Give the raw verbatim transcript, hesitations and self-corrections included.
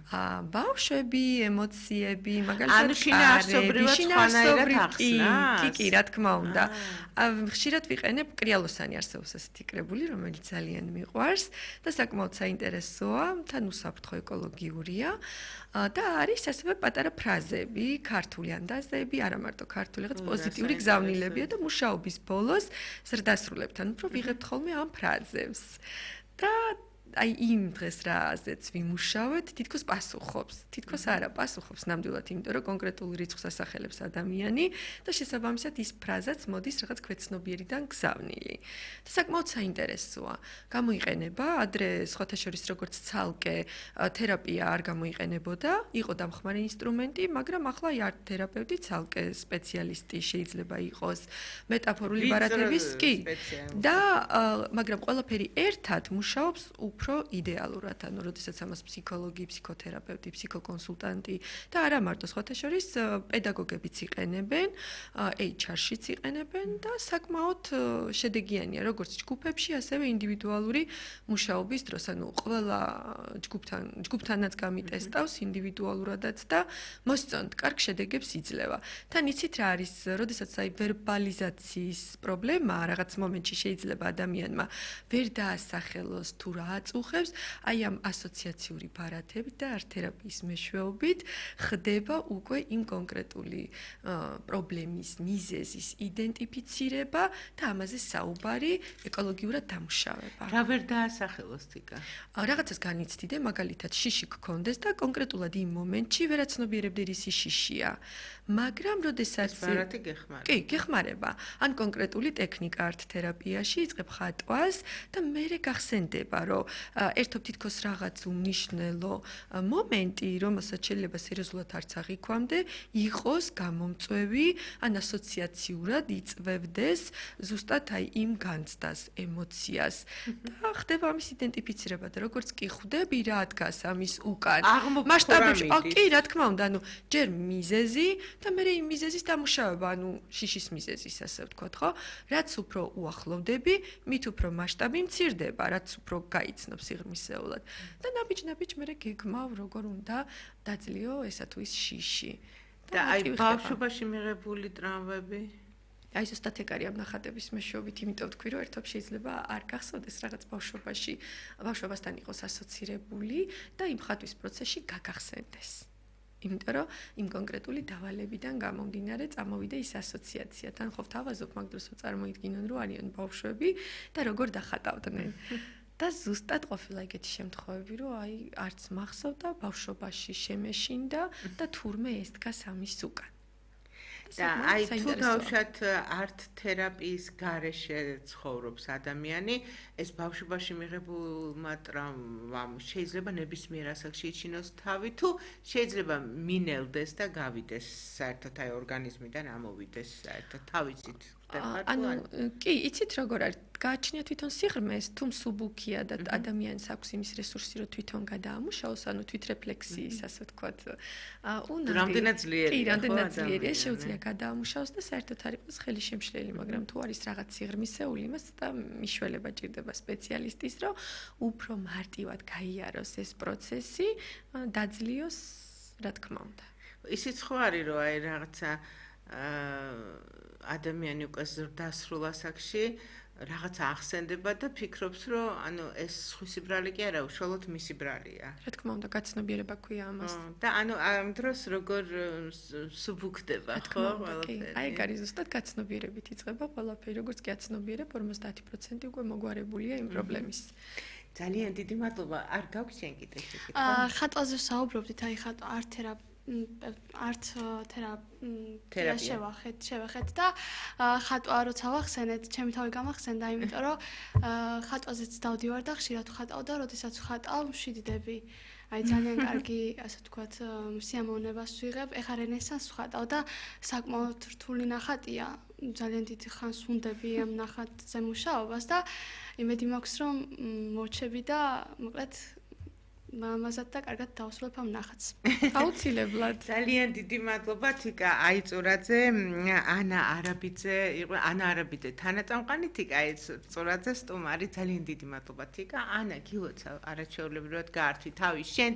აა ბავშვები, ემოციები, ანუ შინაარსობრივად სხვანაირად ახსნას. კი, კი, რა თქმა უნდა. ხშირად ვიყენებ კრიალოსანი არსებობს ასეთი კრებული, რომელიც ძალიან მიყვარს და საკმაოდ საინტერესოა, თან უსაფრთხო ეკოლოგიურია და არის ასევე პატარა ფრაზები, ქართული ანდაზები, არა მარტო ქართული, რაღაც პოზიტიური გზავნილებია და მუშაობის ბოლოს ზრდასრულებთან უფრო ვიღებთ ხოლმე ამ ფრაზებს. და აი იმ დღეს რაზეც ვიმუშავეთ, თითქოს პასუხობს. თითქოს არა პასუხობს ნამდვილად, იმიტომ რომ კონკრეტულ რიცხვს ასახელებს ადამიანი და შესაბამისად ის ფრაზაც მოდის რაღაც ქვეცნობიერიდან გზავნილი. და საკმაოდ საინტერესოა. გამოიყენება ადრე სხვათა შორის როგორც ცალკე თერაპია არ გამოიყენებოდა, იყო დამხმარე ინსტრუმენტი, მაგრამ ახლა აი ართ თერაპევტი, ცალკე სპეციალისტი შეიძლება იყოს მეტაფორული ბარათების კი. და მაგრამ ყველაფერი ერთად მუშაობს უფრო იდეალურად, ანუ როდესაც ამას ფსიქოლოგი, ფსიქოთერაპევტი, ფსიქოკონსულტანტი და არა მარტო სხვათა შორის პედაგოგებიც იყენებენ, ეიჩ არ-შიც იყენებენ და საკმაოდ შედეგიანია, როგორც ჯგუფებში, ასევე ინდივიდუალური მუშაობის დროს, ანუ ყველა ჯგუფთან, ჯგუფთანაც გამიტესტავს ინდივიდუალურადაც და მოსწონთ, კარგ შედეგებს იძლევა. თან იცით რა არის, როდესაც აი ვერბალიზაციის პრობლემა რაღაც მომენტში შეიძლება ადამიანმა ვერ დაასახელოს თუ რა აწუხებს, აი ამ ასოციაციური ბარათებით და არტ-თერაპიის მეშვეობით ხდება უკვე იმ კონკრეტული პრობლემის მიზეზის იდენტიფიცირება და ამაზე საუბარი, ეკოლოგიურად დამუშავება. რა ვერ დაასახელოს თიკა? რაღაცას განიცდიდე, მაგალითად შიში გქონდეს და კონკრეტულად იმ მომენტში ვერაცნობიერებდი რისი შიშია. მაგრამ როდესაც ბარათი გეხმარება. კი, გეხმარება. ან კონკრეტული ტექნიკა არტ-თერაპიაში იწყებ ხატვას და მერე გახსენდება, რომ ერთობ თითქოს რაღაც უმნიშვნელო მომენტი, რომელსაც შეიძლება სერიოზულად არც აღიქვამდე, იყოს გამომწვევი, ან ასოციაციურად იწვევდეს ზუსტად აი იმ განცდას, ემოციას და ხდება ამის იდენტიფიცირება და როგორც კი ხვდები რა დგას ამის უკან. მასშტაბებში, კი, რა თქმა უნდა, ანუ ჯერ მიზეზი და მერე იმ მიზეზის დამუშავება, ანუ შიშის მიზეზის, ასე ვთქვათ, ხო? რაც უფრო უახლოვდები, მით უფრო მასშტაბი მცირდება, რაც უფრო გაიცნობს სიღრმისეულად. და ნაბიჯ-ნაბიჯ მერე გეგმავ, როგორ უნდა დაძლიო ესა თუ ის შიში. და აი ბავშვობაში მიღებული ტრავმები? აი ზუსტად ეგ არის ამ ნახატების მეშვეობით, იმიტომ ვთქვი, რომ ერთობ შეიძლება არ გახსოვდეს რაღაც ბავშვობაში, ბავშვობასთან იყოს ასოცირებული და იმ ხატვის პროცესში გაგახსენდეს. იმიტომ რომ იმ კონკრეტული დავალებიდან გამომდინარე წამოვიდა ის ასოციაცია. თან ხო ვთავაზობ მაგ დროს წარმოიდგინონ, რომ არიან ბავშვები და როგორ დახატავდნენ. და ზუსტად ყოფილა ეგეთი შემთხვევები, რომ აი არც მახსოვდა ბავშვობაში შემეშინდა და თურმე ეს დგას ამის უკან. და აი თუ დავშათ არტ-თერაპიის გარეშე ცხოვრობს ადამიანი, ეს ბავშვობაში მიღებულმა ტრავმამ შეიძლება ნებისმიერ ასაკში იჩინოს თავი, თუ შეიძლება მინელდეს და გავიდეს საერთოდ აი ორგანიზმიდან ამოვიდეს საერთოდ თავისით. ანუ კი, იცით როგორ არის? გააჩნია თვითონ სიღრმეს, თუ მსუბუქია და ადამიანს აქვს იმის რესურსი, რომ თვითონ გადაამუშავოს, ანუ თვითრეფლექსიის, ასე ვთქვათ, უნარი. რამდენად ძლიერია, კი, რამდენად ძლიერია, შეუძლია გადაამუშავოს და საერთოდ არ იყოს ხელი შემშლელი, მაგრამ თუ არის რაღაც სიღრმისეული, იმას და მიშველება ჭირდება სპეციალისტის, რომ უფრო მარტივად გაიაროს ეს პროცესი, დაძლიოს, რა თქმა უნდა. ისიც ხო არის, რომ აი რაღაცა ადამიანი უკვე ზრდასრულ ასაკში რაღაც ახსენდება და ფიქრობს, რომ ანუ ეს სხვისი ბრალი კი არა, უშუალოდ მისი ბრალია. რა თქმა უნდა, გაცნობიერება ქვია ამას. და ანუ ამ დროს როგორ სუბუქდება, ხო, ყველაფერი. აი, ეგ არის ზუსტად გაცნობიერებით იწყება ყველაფერი, როგორც კი აცნობიერებ, ორმოცდაათი პროცენტი უკვე მოგვარებულია იმ პრობლემის. ძალიან დიდი მადლობა. არ გაქვს შენ კიდე შეკითხვა? აა, ხატვაზე საუბრობდით, აი ხატვა არტ-თერაპია არტ თერაპია შევახეთ, შევახეთ და ხატვა როცა ვახსენეთ, ჩემი თავი გამახსენდა, იმიტომ რომ ხატვაზეც დავდივარ და ხშირად ვხატავ და როდესაც ვხატავ, მშვიდდები. აი ძალიან კარგი, ასე ვთქვათ, სიამოვნებას ვიღებ. ეხლა რენესანსს ვხატავ და საკმაოდ რთული ნახატია. ძალიან დიდი ხანს ვუნდები ამ ნახატზე მუშაობას და იმედი მაქვს, რომ მოვჩები და მოკლედ მამაზად და კარგად დავსრულებ ამ ნახატს. აუცილებლად. ძალიან დიდი მადლობა თიკა აიწურაძე, ანა არაბიძე, იყო ანა არაბიძე თანაწამყვანი, თიკა აიწურაძე სტუმარი. ძალიან დიდი მადლობა თიკა. ანა გილოცავ არაჩვეულებრივად გაართვი თავი შენც